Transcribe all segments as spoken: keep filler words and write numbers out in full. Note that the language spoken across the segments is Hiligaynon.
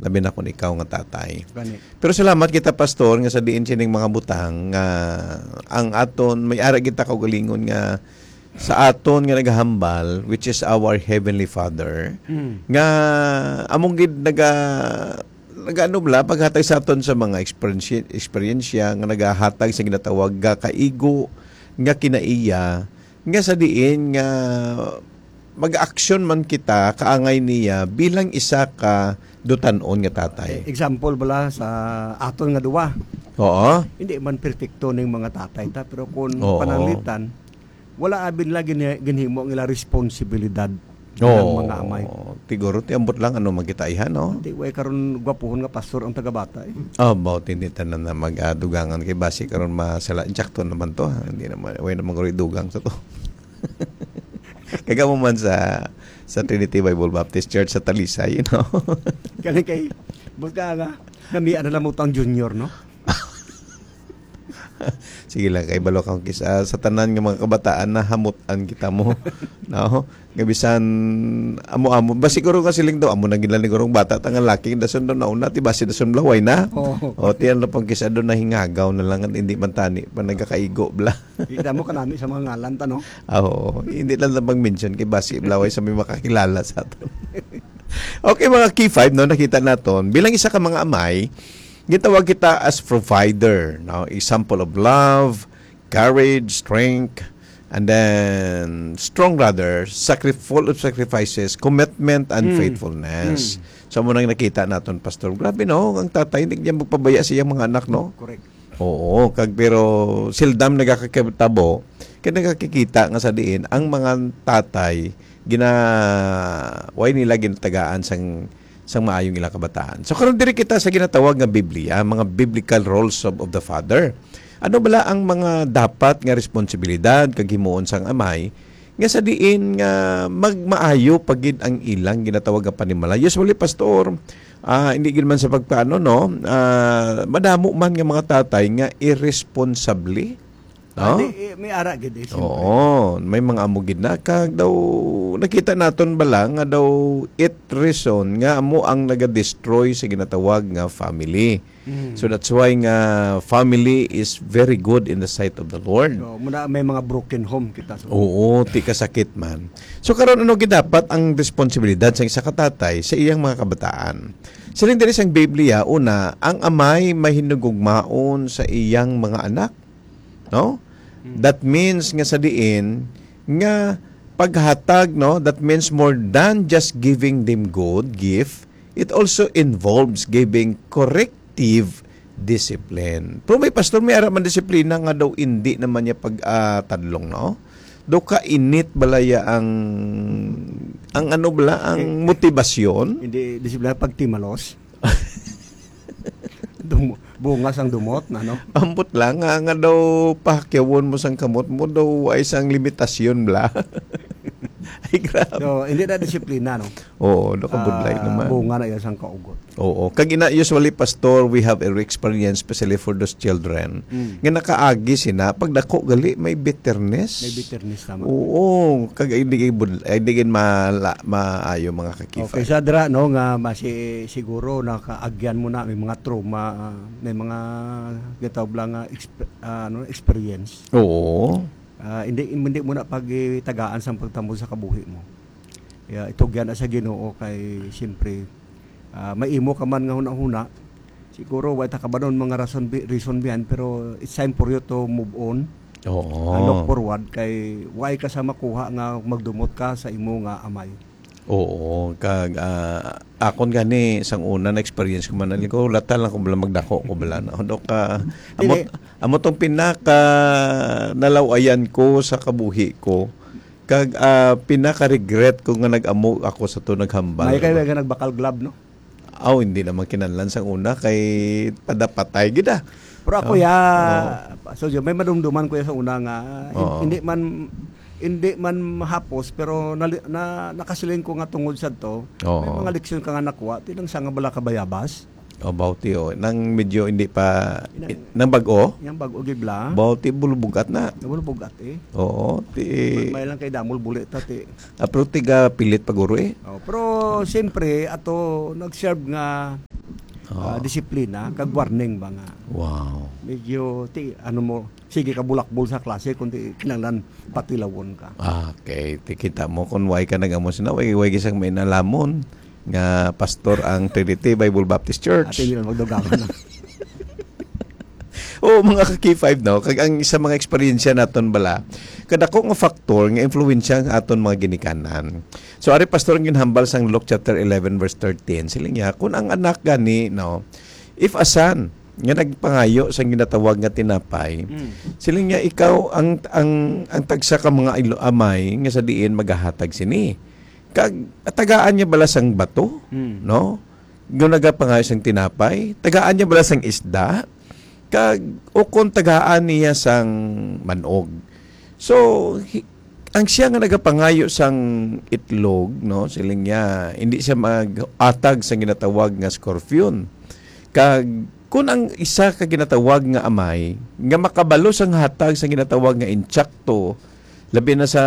Abi na kun ikaw nga tatay. Gani. Pero salamat kita, Pastor, nga sa diin sining mga butang nga ang aton, may ara kita kaugalingon nga sa aton nga nagahambal, which is our Heavenly Father, Mm. nga among gid naga-, nagaano bala, paghatag sa aton sa mga eksperensi-, eksperyensya nga nagahatag sa ginatawag nga kaigo nga kinaiya, nga sa diin nga mag-aksyon man kita kaangay niya bilang isa ka dutan-on nga tatay. Example bala sa aton nga duwa. Oo. Hindi man perpekto ning mga tatay ta, pero kung Oo. pananglitan, wala abi nila gini-, ginhimo ang ila responsibilidad bilang Oo. mga amay. Siguro, ti ambot lang, ano, magkita, iha, no? Di, way karon gwapuhon nga pastor ang tagabata, eh. Oh, about hindi tanan na mag-adugangan kay basi karon masala. Insakto naman to, ha? Hindi naman, way naman karon idugang sa to. Kagamo man sa, sa Trinity Bible Baptist Church sa Talisay, you know? Kani kay, buta nga, namian na lang mo tang junior, no? Sige lang, kay balo ka, kis-, ah, sa tanan nga mga kabataan, nahamutan kita mo. No? Nga bisan, amo-amo. Ba siguro nga siling daw, amo na gila ni gurong bata, tangan laki, dason daw nauna, ti basi dason blaway na. Oo. O, ti ano pang kisa doon, nahingagaw na lang, hindi man tani, pa nagkakaigo, bla. Kita mo kanami sa mga ngalan ta, no? Ah, oo. Hindi lang lang mag-mention kay basi blaway sa may makakilala sa ato. Okay, mga key five, no, nakita naton. Bilang isa ka mga amay, gitawag kita as provider, no? Example of love, courage, strength, and then strong brother, sacri-, full of sacrifices, commitment, and Mm. faithfulness. Mm. So, mo nang nakita naton, Pastor. Grabe, no? Ang tatay, hindi niya magpabaya sa iyang mga anak, no? Correct. Oo, kag pero sildam nagakakitabo, kay nagakikita nga sa diin ang mga tatay gina-, way nila ginatagaan sang, sang maayong ilang kabataan. So, karon diri kita sa ginatawag nga Biblia, mga biblical roles of, of the father. Ano bala ang mga dapat nga responsibilidad kag himuon sang amay nga sa diin nga magmaayo pa gid ang ilang ginatawag nga panimalay? Usually, Pastor, ah, hindi gid man sa pagpaano, no? Ah, madamo man nga mga tatay nga irresponsable, no? Ah, di, eh, may ara gid, eh, siyempre. Oo, may mga amo gid na. Kag daw, nakita naton bala nga daw it reason nga amo ang naga-destroy sa ginatawag nga family. Mm. So that's why nga family is very good in the sight of the Lord. So, muna may mga broken home kita sa Oo, ti kasakit man. So karon, ano gid dapat ang responsibilidad sa isa ka tatay sa iyang mga kabataan? Siling diri sang Biblia, una, ang amay mahinugugmaon sa iyang mga anak, no? Mm. That means nga sa diin nga paghatag, no, that means more than just giving them good gift, it also involves giving corrective discipline. Pero may pastor, may ara man disiplina nga daw hindi naman niya pag, ah, tadlong, no? Daw kainit balaya ang, ang ano bala, ang Eh, motivasyon? Hindi, disiplina, pagtimalos. Dum-, bunga sang dumot na, no? Ambot lang nga, nga daw pahakyawon mo sang kamot mo, daw ay sang limitasyon bala. Ay, grabe. So, hindi na disiplina, no? Oo, nakabudlay Ah, naman. Bunga na iya sang kaugot. Oo. Kag ina, usually, Pastor, we have a experience, especially for those children, Mm. nga nakaagi sina, pag dako gali, may bitterness. May bitterness naman. Oo. Kag hindi gid bud-, hindi gid mala-, maayo mga kakifay. Okay, sa dra, no, nga masi-, siguro nakaagyan mo na, may mga trauma, ah, may mga gitawag lang nga exp-, ah, ano, experience. Oo. Ah, hindi, hindi mo na pagtagaan sang pagtambong sa kabuhi mo. Ya, itugyan na sa Ginoo kay, siyempre, ah, maimo ka man nga hunahuna. Siguro, wa ta kabanon mga rason bi-, reason behind, pero it's time for you to move on. Oo. Ah, look forward kay wa ka sa makuha nga magdumot ka sa imo nga amay. Oo, kag, ah, akon gani sang una na experience ko man, ali ko, lata lang ko bala, magdako ko bala na. Ano ka, amo, Dili. Amo tong pinaka nalaw-ayan ko sa kabuhi ko. Kag, ah, pinaka-regret ko nga nag-amo ako sa to, naghambal. May kayo nga nagbakal glove, no? Aw, hindi naman kinahanglan sang una kay padapatay gid, ah. Pero ako, Oh, ya, oh. So, may madumduman ko ya sa una nga, hin-, Oo. hindi man, hindi man mahapos, pero nali-, na, nakasiling ko nga tungod sa to, may Oo. mga leksyon ka nga nakuha, tinang sa nga bala kabayabas. O, bawti, o. Nang medyo hindi pa, Inang i-, nang bag-o? Yang bag-o gid bala. Bawti, bulubugat na. Bulubugat, eh. Oo, ti- May, may lang kay damol buli ta, ti. Ah, pero tiga pilit pa guro, eh. Oh, pero siyempre, ato, nag-serve nga, ah, Oo. disiplina, kag warning ba nga. Wow. Medyo, ti, ano mo, sige ka bulakbol sa klase, kundi kinahanglan patilawon ka. Okay, ti kita mo kung why ka nag-amo sina, why, why gisang may nalamon nga pastor ang Trinity Bible Baptist Church. Ate, hindi lang magdugangan na. Oo, mga ka-K five, no? Kag ang isa mga eksperyensya naton bala, kadako nga factor nga influensya ang aton mga ginikanan. So, ari, Pastor, ang ginhambal sang Luke chapter eleven, verse thirteen, siling niya, kung ang anak gani, no, if a son, nga nagpangayo sang ginatawag nga tinapay, Mm. siling niya, ikaw ang, ang, ang tagsa ka mga ilo-, amay nga sa diin magahatag sini. Kag tagaan niya bala sang bato, Mm. no? Nga nagapangayo sang tinapay, tagaan niya bala sang isda, kag ukon tagaan niya sang manog. So, hi-, ang siya nga nagapangayo sang itlog, no, siling niya, hindi siya mag-atag sang ginatawag nga scorpion. Kag kun ang isa ka ginatawag nga amay nga makabalo sang hatag sang ginatawag nga insakto, labi na sa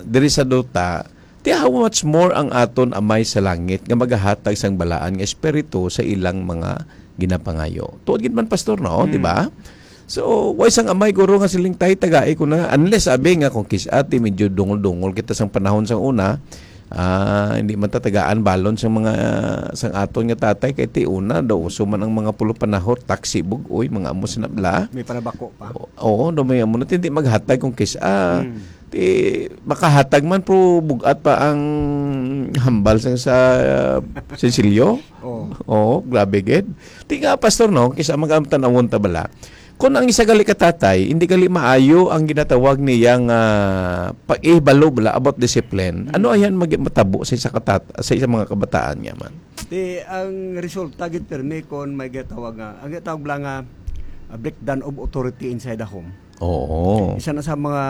diri sa duta, ti how much more ang aton Amay sa langit nga magahatag sang balaan nga espiritu sa ilang mga ginapangayo. Tuod gid man, Pastor, no? Mm. Di ba? So, way sang amay guro nga siling tay tagai ko na, unless abi nga kung kis-a ti medyo dungol-dungol kita sang panahon sang una, ah, hindi man ta tagaan balon sang mga, sang aton nga tatay kay ti una daw uso man ang mga pulo panahot, taksi bug-oy, mga amo sinabla. May panabako pa. O-, oo, daw may amo na ti hindi maghatag kung kis-a. Mm. Ti makahatag man, pero bug-at pa ang hambal sa, sa sensilyo. Oo. Oo, grabe gid. Ti nga, Pastor, no, kis-a, mag-amtan-awon ta bala. Kung ang isa gali ka tatay, hindi gali maayo ang ginatawag niya nga pag-ihibalo bala about discipline, ano Mm. ayan mag-, matabo sa isa ka tat-, sa isa mga kabataan niya man? Ti ang resulta gid pirmi kon may ginatawag nga, ang ginatawag bala nga, ah, breakdown of authority inside the home. Oo. Isa na sa mga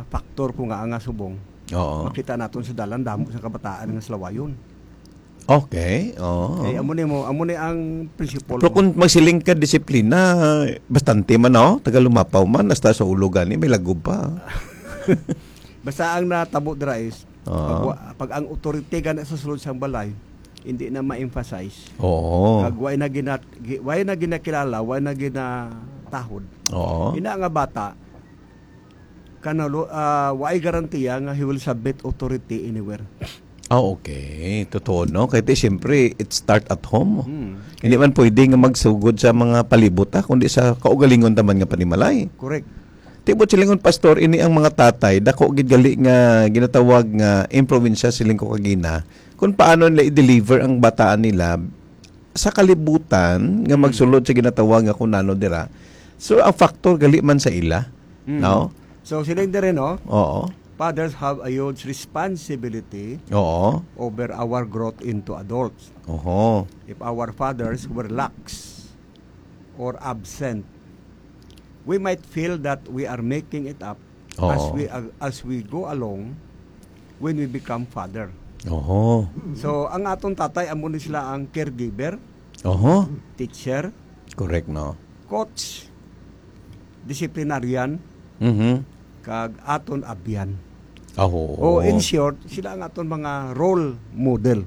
factor ko nga nga subong. Oo. Makita naton sa dalan, damo sa kabataan nga salawayon. Okay, oo. Eh, amo ni mo, amo ni ang prinsipal Pero mo. Kung magsiling ka disiplina, bastante man, no? Taga Lumapaw man, hasta sa ulo gani, may lagob pa. Basta ang natabo dira is, Oo. pag wa-, pag ang authority gani sa sulod sang balay, hindi na ma-emphasize. Oo. Kag way na gina-, gi-, way na ginakilala, way na ginatahod. Oo. Ina nga bata, kanalo, ah, way garantiya nga he will submit authority anywhere. Ah, okay. Totoo, no? Kaya ti, siyempre, it start at home. Hmm. Hindi man pwede nga magsugod sa mga palibot, ah, kundi sa kaugalingon taman nga panimalay. Correct. Tibot silingon, Pastor, ini ang mga tatay, dako gid gali nga ginatawag nga improbinsya, siling ko kagina, kung paano nila i-deliver ang bataan nila sa kalibutan nga Mm. magsulod sa ginatawag nga kung ano dira. So, ang factor gali man sa ila, Mm. no? So, sila yung diri, no? Oo. Fathers have a huge responsibility Oo. over our growth into adults. Oho. If our fathers were lax or absent, we might feel that we are making it up as Oo. we ag-, as we go along when we become father. Oho. So, ang aton tatay, amo ni sila ang caregiver, Oho. teacher, Correct, no? coach, disciplinarian, Mhm. kag aton abyan. Ah, oo. O, in short, sila ang aton mga role model.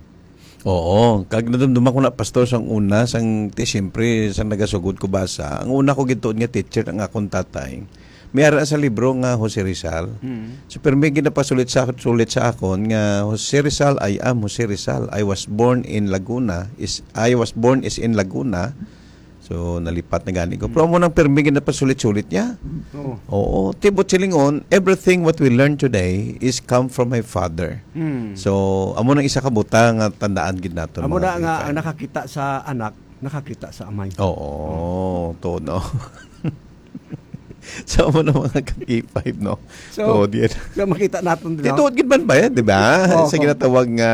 Oo. Kag nadumduman ko na, Pastor, sang una, sang, ti, siyempre, sang nagasugod ko basa, ang una ko gituon nga teacher ang akon tatay. May ara sa libro nga Jose Rizal. Mm. So, pero may ginapasulit sa, sulit sa akon nga, "Jose Rizal, I am Jose Rizal. I was born in Laguna. Is, I was born is in Laguna." So, nalipat na gani ko. Pero amo nang pirmi ginapasulit-sulit niya. Oo. Oo. Tibot silingon, everything what we learn today is come from my father. Hmm. So, amo nang isa ka butang nga tandaan gid naton, Amo mga na nga, K five. Ang nakakita sa anak, nakakita sa amay. Oo. To, no? So, amo na, mga ka-K five, no? So, Oo, di yan. so, makita naton, di ba? Tituod gid man ba yan, di ba? Oo. Sa ginatawag nga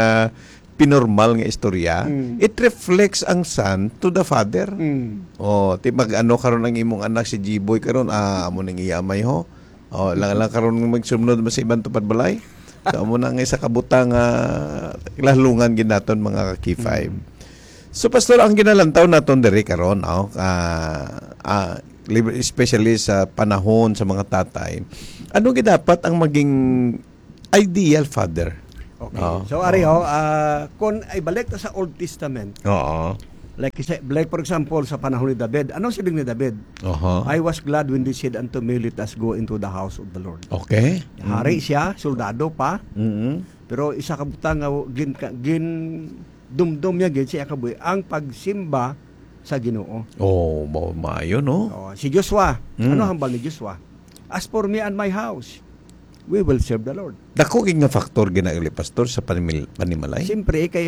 pinormal nga istorya, Mm. it reflects ang son to the father. Mm. Oh, ti mag-ano karon ang imong anak si G-boy karon, ah, amo ning iya amay ho. Oh, lang, lang karon magsunod mo sa ibang tupad balay. So, amo na nga isa ka butang, ah, lahlungan gid naton, mga ka-K five. Mm. So, Pastor, ang ginalantaw naton diri karon, oh, ah, ah, libre, especially sa panahon sa mga tatay, ano gid dapat ang maging ideal father? Okay. Oo. So, ari, Oo. ho, ah, kung ibalik ta sa Old Testament, Oo. Like, sa- like for example, sa panahon ni David, ano siling ni David? Aha. "I was glad when they said unto me, 'Let us go into the house of the Lord.'" Okay. Hari Mm. siya, soldado pa, Mm. pero isa ka butang nga gin, ka- gin dumdom niya gid siya kabuhi ang pagsimba sa Ginoo. Oh, mao maayo, no? Oh, si Joshua, Mm. ano hambal ni Joshua? "As for me and my house, we will serve the Lord." Dako gid nga factor ginauli, Pastor, sa panimil- panimalay. Siyempre, kay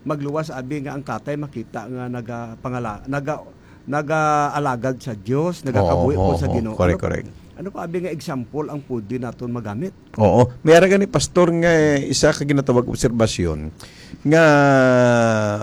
magluwas abi nga ang tatay makita nga nagapangala naga nagaalagad sa Dios, nagakabuhi Oo, po oo, sa oo. Ginoo. Correct, Ano pa- correct. Ano pa abi nga example ang pwede naton magamit? Oo. May ara gani, Pastor, nga isa ka ginatawag obserbasyon nga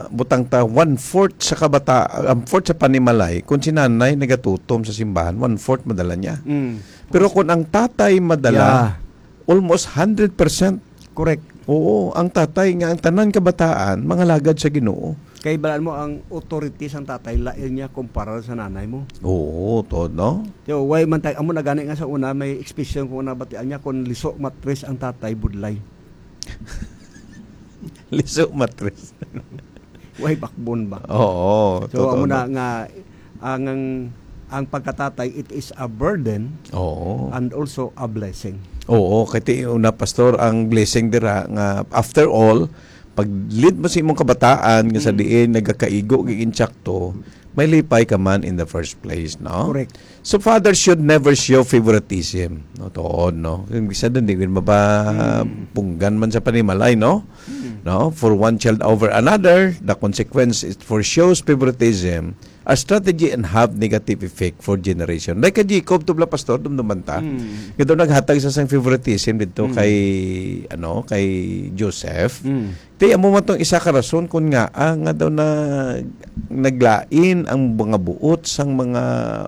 butang ta one-fourth sa kabata, um, fourth sa panimalay, kung si nanay nagatutom sa simbahan, one-fourth madala niya. Mm. Pero kung ang tatay madala, Yeah. almost hundred percent. Correct. Oo, ang tatay nga ang tanan kabataan mangalagad sa Ginoo. Kay balaan mo ang authority sang tatay lain niya kumpara sa nanay mo. Oo, to, no? So, why man tay amo na gani nga sa una may expression ko na batian niya kung liso matris ang tatay budlay. Liso matris. Why backbone ba? Oo, So, totoo amo na na. nga ang, ang ang pagkatatay, it is a burden Oo. and also a blessing. Oo, kay ti una, Pastor, ang blessing dira nga after all, pag lead mo sa imong kabataan nga sa Mm. diin nagakaigo kag insakto, may lipay ka man in the first place, no? Correct. So fathers should never show favoritism. No, tuod, no? Kung bisa din, di gid maba Mm. punggan man sa panimalay, no? Mm. No? For one child over another, the consequence is for shows favoritism a strategy and have negative effect for generation. Like kay Jacob, tubla, Pastor, dumduman ta. Mm. Nga daw naghatag sa sang favoritism dito Mm. kay, ano, kay Joseph. Mm. Ti amo man tong isa ka rason kun nga, ah, nga daw na naglain ang mga buot sang mga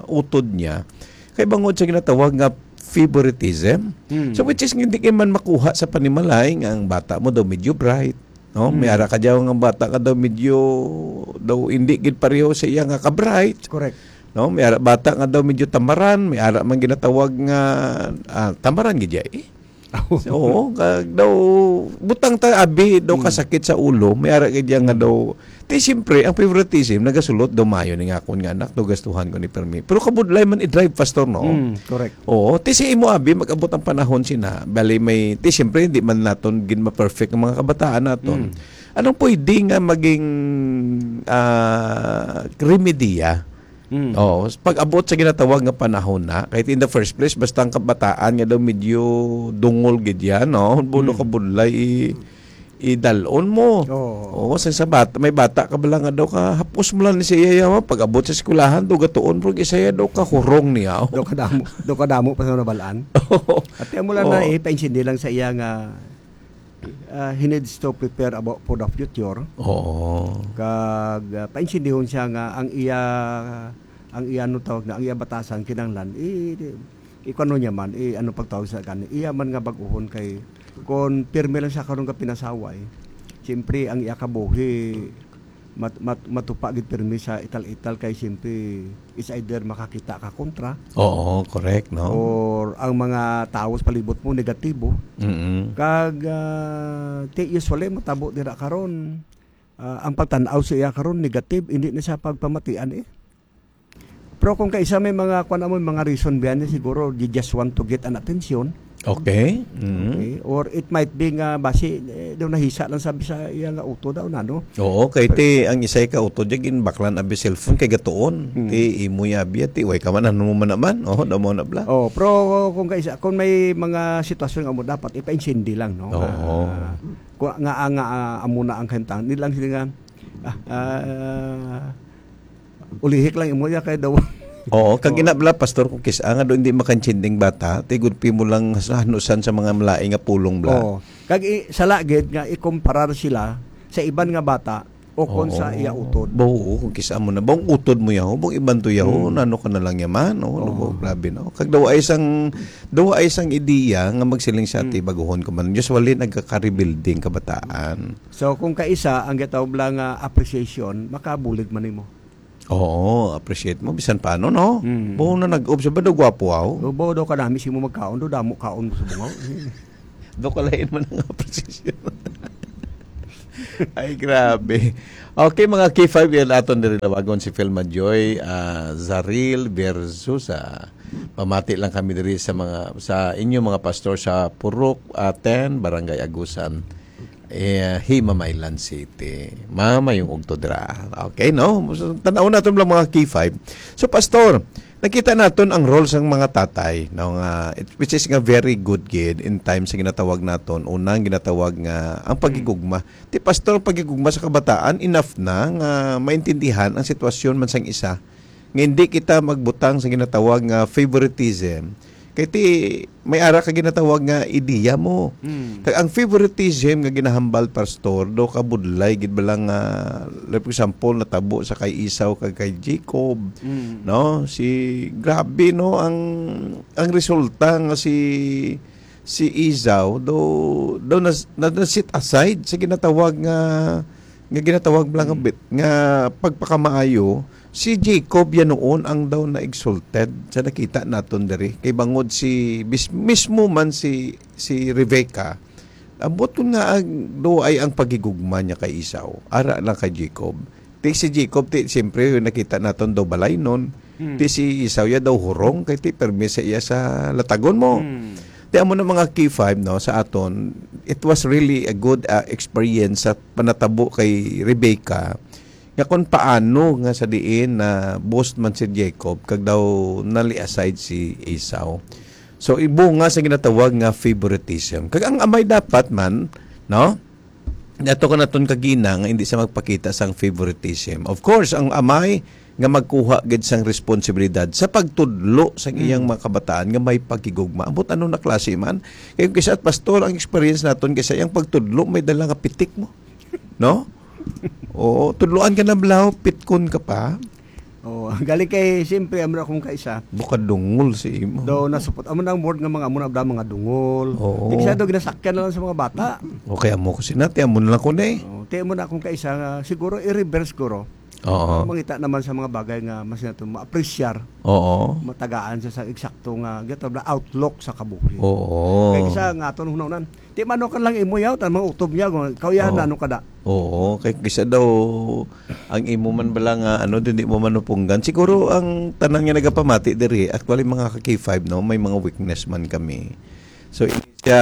utod niya. Kay bangod sa ginatawag nga favoritism. Mm. So, which is hindi kay man makuha sa panimalay nga ang bata mo daw medyo bright. No? May Mm. ara ka daw nga bata ka daw medyo daw hindi gid pareho sa iya nga ka-bright. Correct. No? May ara bata nga daw medyo tamaran, may ara man ginatawag nga, ah, tamaran gid ya, eh. Oo, kag daw butang ta abi daw Mm. kasakit sa ulo, may ara gid ya nga Mm. daw. Ti siyempre, ang favoritism nagasulot daw, "Maayo ni nga akon nga anak, daw gastuhan ko ni permi." Pero kabudlay man i-drive, Pastor, no? Mm, correct. Oo, ti sa imo abi, mag-abot ang panahon sina. Bali may, ti siyempre, di man naton gin ma-perfect ang mga kabataan naton. Mm. Anong pwede nga maging, ah, remedya? Mm. Oo, pag-abot sa ginatawag nga panahon na, kahit in the first place, basta ang kabataan nga daw medyo dungol gid yan, no? Buno Mm. ka budlay, i-, idalon mo. Oo. Oo, sa, sa bata, may bata ka bala nga daw ka, hapos mo lang ni sa iya, yawa, pag-abot sa eskwelahan, daw gatuon, pero isa iya daw ka hurong niya. Daw kadamo, daw kadamo pa sa nabalaan. Oo. Ate, amo lang Oo. na, eh, paintindihan lang sa iya nga, ah, he needs to prepare about for the future. Oo. Kag, ah, paintindihon siya nga ang iya, ang iya, ano tawag na, ang iya batasan, kinahanglan, i-, i-, kuno niya man, i-, ano pagtawag sa kani, iya man nga bag-ohon kay, kung pirmi lang siya karon nga pinasaway, siyempre, ang iya kabuhi, mat-, mat-, matupa gid pirmi sa ital-ital kay siyempre it's either makakita ka kontra Oo, correct, no? or ang mga tawo sa palibot mo negatibo. Mm-mm. Kag, ah, ti usually matabo dira karon, ah, ang pagtan-aw sa iya karon negative, hindi na siya pagpamatian eh. Pero kung kaisa may mga, kuwan mo, mga reason biyan niya, siguro they just want to get an attention. Okay. Mm. Okay. Or it might be nga basi, eh, daw nahisa lang sabi sa iya nga utod daw na, no? Oo, kay Pero ti ang isay ka utod, di ginbaklan abi cellphone kay gatuon. Mm. Ti imo ya abi, ti way ka man, ano mo man naman. Oh, daw mo na bla. Oh, pero kung kaisa, kung may mga sitwasyon nga mo dapat ipaintindi lang, no? Oo. Ah, kung nga, nga, ah, amo na ang kahimtang. Nilang sila nga, ah, ah, ulihik lang imo ya kay daw. Oo, kag Oo. ina bala, Pastor, kung kis-, ah, nga daw hindi makaintinding bata, tigulpi mo lang sa hanusan sa mga malain nga pulong bala. Oo. Kag i-, sala gid nga ikumparar sila sa iban nga bata o kon sa Oo. iya utod. Ba, oo, kung kis-, amo na. Bang utod mo yaho, bang iban to yaho, Hmm. nano ka na lang yaman, oh, Oo. ba, grabe, no? Kag daw ay isang, daw ay isang ideya nga magsiling sa ati, Hmm. baguhon ko man. Usually, nagkaka-rebuilding kabataan. So, kung kaisa, ang gitawag lang nga appreciation, makabulig man nimo. Oo, appreciate mo, bisan paano, no? Mm. Buong na nag-observe ba daw gwapo, aw? O, buo daw kadami si mo magkaon, daw damo kaon mo sa bungaw. Daw kalain man ang appreciation. Ay, grabe. Okay, mga K five, yan aton diri lawagon si Filma Joy, ah, Zaril Versusa. Pamati lang kami diri sa mga, sa inyo mga pastor sa Purok, ah, ten, Barangay Agusan, eh, Himamaylan City. Mamayong ugto dira. Okay, no? So, tan-aw naton lang mga K five. So, pastor, nakita naton ang role sang mga tatay, no, nga, it, which is nga very good gid in time sa ginatawag naton, unang ginatawag nga ang pagigugma. Ti pastor, pagigugma sa kabataan, enough na nga maintindihan ang sitwasyon man sang isa, nga hindi kita magbutang sa ginatawag nga favoritism. Kay ti, may ara ka ginatawag nga ideya mo. Mm. Kag ang favoritism nga ginahambal, pastor, do kabudlay gid ba lang nga, like, for example, natabo sa kay Esau kag kay Jacob, Mm. no? Si, grabe, no, ang, ang resulta nga si, si Esau do, do nas-, na, na-set aside sa ginatawag nga, nga ginatawag lang nga Mm. bit, nga pagpakamaayo. Si Jacob yan noon ang daw na-exalted sa nakita naton diri. Kay bangod si bis-, mismo man si, si Rebecca, ambot kun nga ang do ay ang pagigugma niya kay Esau, ara lang kay Jacob. Ti si Jacob, ti, siyempre, nakita naton daw balaynon. Hmm. Ti si Esau ya daw hurong, kay ti permi sa iya sa latagon mo. Hmm. Ti amo na mga K five, no, sa aton, it was really a good, ah, experience sa panatabo kay Rebecca, nga kung paano nga sa diin na boast man si Jacob, kag daw nali aside si Esau. So, ibunga sa ginatawag nga favoritism. Kag ang amay dapat man, no? Nato ka naton kagina nga hindi sa magpakita sang favoritism. Of course, ang amay nga magkuha gid sang responsibilidad sa pagtudlo sa iyang Mm. mga kabataan nga may pagkigugma. Ambot ano na klase man. Kay kisa, pastor, ang experience naton kisa iyang pagtudlo may dala nga pitik mo. No? Oo, tudloan ka na blaw, pitkon ka pa. Oo, galing kay, siyempre, amo na akong kaisa. Bukadungol si imo. Do, nasupot. Amo na ang word nga mga, amo na ang mga dungol. Oo. Di siya do, ginasakyan na lang sa mga bata. Okay, amo ko sinati, amo na lang ko na eh. Oo, ti amo na akong kaisa nga, siguro, i-reverse ko ro. Oo. Mangita naman sa mga bagay nga mas nato ma-appreciate. Oo. Matagaan sa, sa eksakto nga, gito na outlook sa kabuhi. Oo. Kay kisa nga aton hunahunaan, ti mano ka lang imo yaw, tan mga utob niya, kung ikaw yan, Oo. na ano ka da. Oo, kay kisa daw, ang imo man bala nga, ano, di mo manupunggan. Siguro ang tanan nga nagapamati diri, actually, mga ka K five, no, may mga weakness man kami. So, siya,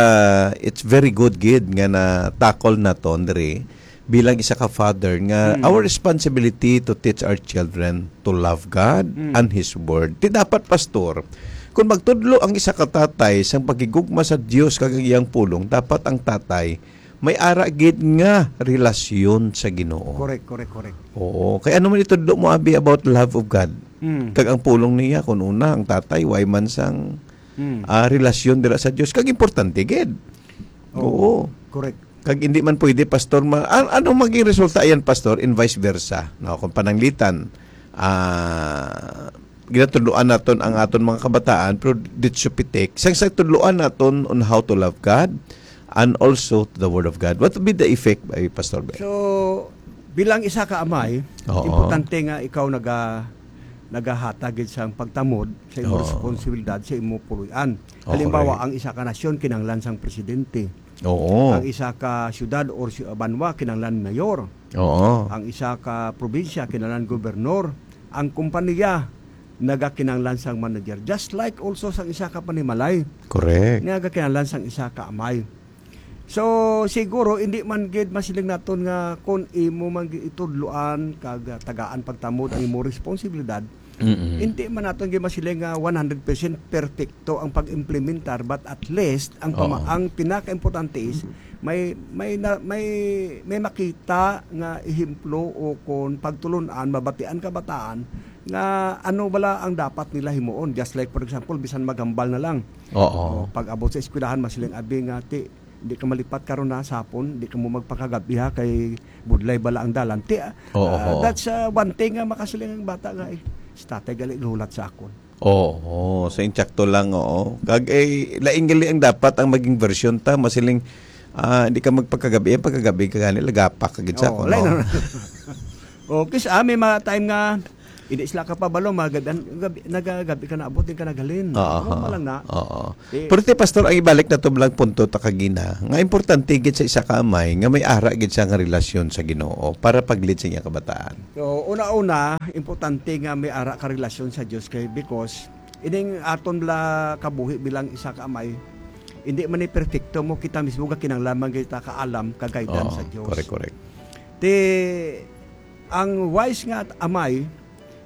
it's very good gid nga na-tackle naton diri bilang isa ka father nga Mm. our responsibility to teach our children to love God Mm. and His Word. Ti dapat, pastor, kung magtudlo ang isa ka tatay sang pagigugma sa Dios kag ang iyang pulong, dapat ang tatay may ara gid nga relasyon sa Ginoo. Correct, correct, correct. Oo. Kay ano man itudlo mo, abi, about love of God? Mm. Kag ang pulong niya, kung una, ang tatay, way man sang, Mm. ah, relasyon dira sa Dios. Kag importante gid. Oo. Oo. Correct. Kag hindi man pwede, pastor, ma-, an-, anong maging resulta yan, pastor, in vice versa? No, kung pananglitan, ah, ginatudloan naton ang aton mga kabataan, pero ditso pitik, sang, sang tudloan naton on how to love God and also to the Word of God. What would be the effect, ay, Pastor Ben? So, bilang isa ka amay, Oo. importante nga ikaw naga-, nagahatag gid sang pagtamod sa imong Oo. responsibilidad sa imong puloy-an. Oh, Halimbawa, correct. Ang isa ka nasyon kinahanglan sang presidente. Oo. Ang isa ka syudad or si-, banwa kinahanglan mayor. Oo. Ang isa ka probinsya kinahanglan gobernor. Ang kompanya nagakinahanglan sang manager. Just like also sang isa ka panimalay. Correct. Nagakinahanglan sang isa ka amay. So, siguro, hindi man gid masiling naton nga kung imo man gid itudloan kag, ah, tagaan pagtamod ang imong responsibilidad, Mm-mm. hindi man naton gid masiling nga one hundred percent perfecto ang pag-implementar, but at least ang pama-, Oo. ang pinakaimportante is may, may na, may, may makita nga ehemplo o kon pagtulon-an, mabatian kabataan nga ano bala ang dapat nila himuon. Just like, for example, bisan maghambal na lang. Oo. O, pag-abot sa eskwelahan, masiling abi nga, "Ti, di ka malipat karon na sa hapon, di ka mo magpakagabi ha, kay budlay bala ang dalan." Ti, ah, Oo, ah, oo. that's, ah, one thing nga makasiling ang bata nga, "Eh, si tatay gali gulat sa akon." Oo, sa insakto lang, oo. Kag, eh, laing gali ang dapat ang maging version ta, masiling, ah, di ka magpakagabi, eh, pagkagabi ka gani, lagapak ka gid sa Oo, akon, lain no? na. O, kis-, ah, may mga time nga, Hindi sila kapabalo, magab-, gabi, nagagabi ka na, abot din ka naghalin. Oo. Normal lang na. Oo. Eh, Pero ti, Pastor, ang ibalik na to lang punto ta kagina, nga importante gid sa isa ka amay nga may ara gid siya nga relasyon sa Ginoo para pag-lead sa iyang kabataan. So, una-una, importante nga may ara ka relasyon sa Dios kay because ining aton bala kabuhi bilang isa ka amay, hindi man ni perfecto mo, kita mismo ga kinahanglan man kita ka alam, ka guidance Oo, sa Dios. Correct, correct. Ti ang wise nga amay,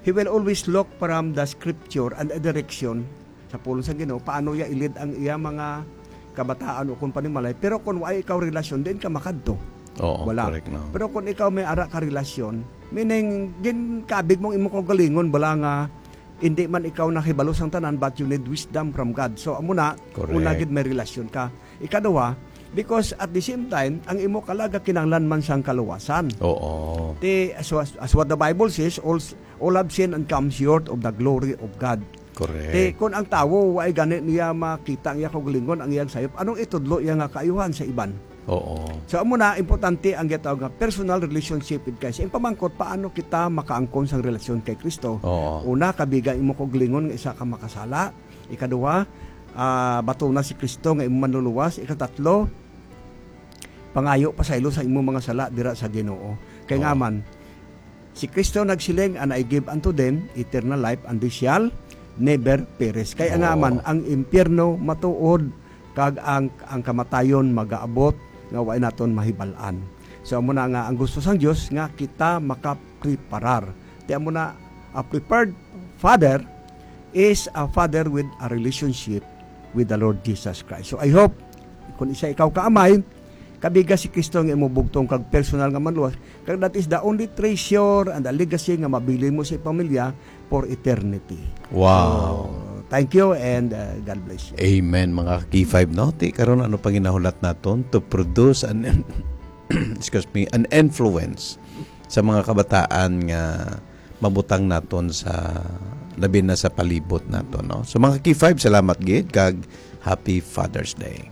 he will always look from the scripture and the direction sa pulong sa Ginoo, paano iya ilid ang iya mga kabataan o kung panimalay. Pero kung wa ikaw relasyon, diin ka makadto. Oo, Wala. Correct, no? Pero kung ikaw may ara ka relasyon, meaning, ginkabig mong imo kaugalingon, bala nga, hindi man ikaw nakibalo sang tanan, but you need wisdom from God. So, amo na, Correct. Una gid may relasyon ka. Ikaduha, because at the same time, ang imo kalaga kinahanglan man sang kaluwasan. Oo. Ti, as, as, as what the Bible says, all, all have sinned and come short of the glory of God. Correct. Ti, kung ang tawo, wa gani niya makita ang iya kaugalingon, ang iyang sayop, anong itudlo iya nga kaayuhan sa iban? Oo. So, amo na, importante ang gitawag nga personal relationship with Christ. Ang pamangkot, paano kita makaangkon sang relasyon kay Kristo? Oo. Una, kabiga imo kaugalingon nga isa ka makasala. Ikaduha, ah, batuna si Kristo nga imo manluluwas. Ikatatlo, pangayo pasaylo sa imo mga sala dira sa Ginoo. Kay nga Oo. man, si Kristo nagsiling, "And I give unto them eternal life, and they shall never perish." Kay nga Oo. man, ang impyerno matuod, kag ang, ang kamatayon magaabot nga wa naton mahibal-an. So, amo na nga ang gusto sang Dios nga kita makapreparar. Ti amo na, a prepared father is a father with a relationship with the Lord Jesus Christ. So, I hope, kung isa ikaw ka amay, kabiga si Kristo nga imo bugtong kag personal nga manluwas, kag that is the only treasure and the legacy nga mabilin mo sa pamilya for eternity. Wow. So, thank you and, uh, God bless you. Amen, mga K five, no? Ti karon, ano pang ginahulat naton to produce an, excuse me, an influence sa mga kabataan nga mabutang naton sa, labi na sa palibot naton, no? So, mga K five, salamat gid kag Happy Father's Day.